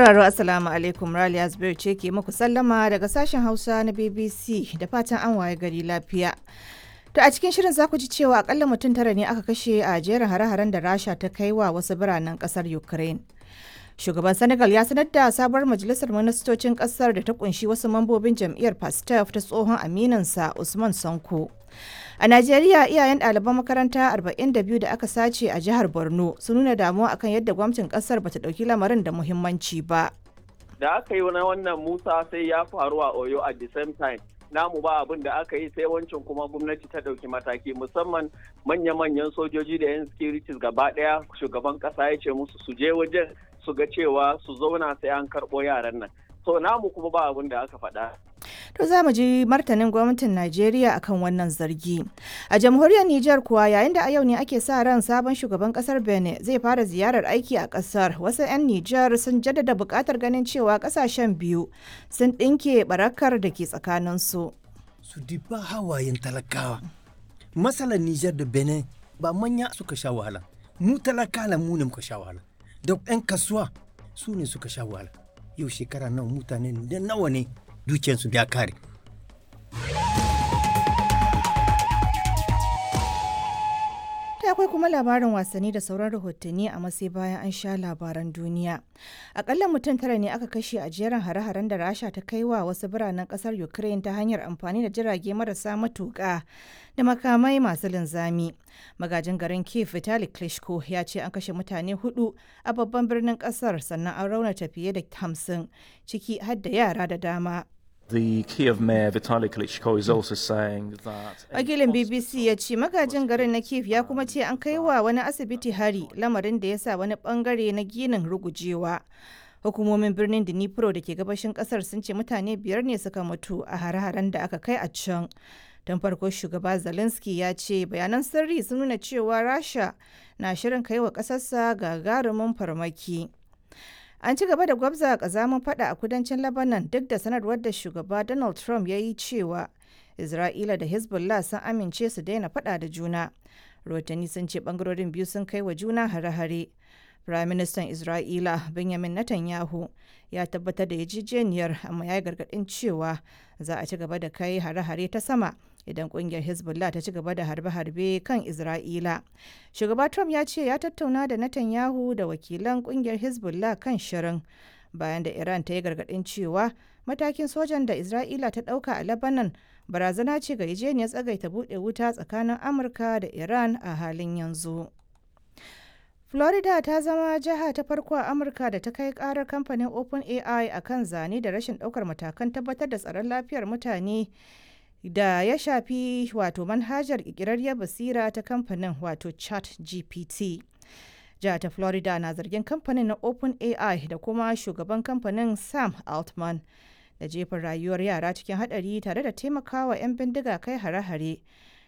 Sauraro, Assalamu alaikum, Raliya Zubair ce ke muku sallama daga sashen Hausa na BBC da fatan an waye gari lafiya. To a cikin shirin za ku ji cewa akalla mutum 9 ne aka kashe a jerin hare-haren da Rasha ta kai wa wasu biranen kasar Ukraine. Shugaban Senegal ya sanar da sabuwar majalisar ministocin kasar da ta kunshi wasu mambobin jam'iyyar Pastef ta tsohon aminansa Usman Sanko. A Najeriya, iyayen ɗaliban makaranta 42 da aka sace a jihar Borno sun nuna damuwa akan yadda gwamnatin kasar bata ɗauki lamarin da muhimmanci ba. Da aka yi na wannan Musa sai ya faru a Oyo at the same time. Namu ba abin da aka yi, sai wancan kuma gwamnati ta ɗauki mataki, musamman manya-manyan sojoji da 'yan securities gaba ɗaya, shugaban ƙasa ya ce musu su je wajen su ga cewa su zauna sai an karɓo yaran nan. So namu kuma ba abin da aka faɗa. To za mu ji martanin gwamnatin Najeriya akan wannan zargi. A jamhuriyar Nijar kuwa, yayin da a yau ne ake sa ran sabon shugaban kasar Benin zai fara ziyarar aiki a kasar, wasu 'yan Nijar sun jaddada buƙatar ganin cewa kasashen biyu sun ɗinke barakar da ke tsakaninsu. Su diba hawayen talakawa. Masalan Nijar da Benin ba manya suka sha wahala. Mu talakala mu ne muka sha wahala. Da 'yan kasuwa su ne suka sha wahala. Yau shekara nawa, mutane da nawa ne dukiyarsu ya kare. Ta akwai kuma labarin wasanni da sauran rahotanni a masai bayan an sha labaran duniya. Akalla mutum 9 ne aka kashe a jerin hare-haren da Rasha ta kai wa wasu biranen kasar Ukraine ta hanyar amfani da jirage marasa matuƙa da makamai masu linzami. Magajin garin Kiev Vitali Klitschko ya ce an kashe mutane hudu a babban birnin kasar, sannan an raunata fiye da 50, ciki har da yara da dama. The Kiev mayor Vitaly Klitschko is also saying that Wakilin BBC ya ce magajin garin na Kiev ya kuma ce an kai wa wani asibiti hari, lamarin da ya sa wani bangare na ginin rugujewa. Hukumomin birnin Dnipro da ke gabashin kasar sun ce mutane 5 ne suka mutu a hare-haren da aka kai a can. Don farko shugaba Zelensky ya ce bayanan sirri sun nuna cewa Rasha na shirin kai wa kasarsa gagarumin farmaki. An ci gaba da gwabza kazamin fada a kudancin Lebanon duk da sanarwar da shugaba Donald Trump ya yi cewa Isra'ila da Hezbollah sun amince su daina fada da juna. Rahotanni sun ce bangarorin biyu sun kai wa juna hare-hare. Prime Minister Isra'ila Benjamin Netanyahu ya tabbatar da yarjejeniyar, amma ya yi gargaɗin cewa za a ci gaba da kai hare-hare ta sama idan kungiyar Hezbollah ta ci gaba da harbe-harbe kan Isra'ila. Shugaba Trump ya ce ya tattauna da Netanyahu da wakilan kungiyar Hezbollah kan shirin, bayan da Iran ta yi gargaɗin cewa matakin sojan da Isra'ila ta ɗauka a Lebanon barazana ce ga yarjejeniyar tsagaita buɗe wuta tsakanin Amurka da Iran a halin yanzu. Florida ta zama jiha ta farko a Amurka da ta kai karar kamfanin OpenAI a kan zane da rashin daukar matakan tabbatar da tsaron lafiyar mutane da ya shafi wato manhajar ƙirƙirarriyar basira ta kamfanin, wato ChatGPT. Jihar ta Florida na zargin kamfanin na OpenAI da kuma shugaban kamfanin Sam Altman da jefa rayuwar yara cikin hadari tare da taimakawa 'yan bindiga kai hare-hare,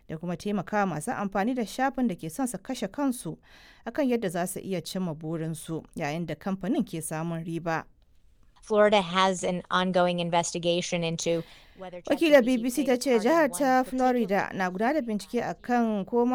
da kuma taimaka masu amfani da shafin da ke son su kashe kansu akan yadda za su iya cimma burinsu, yayin da kamfanin ke samun riba. Florida has an ongoing investigation into whether Wakilar ChatGPT BBC played ta a ce part in jihar one ta particular Florida na gudanar da bincike akan ko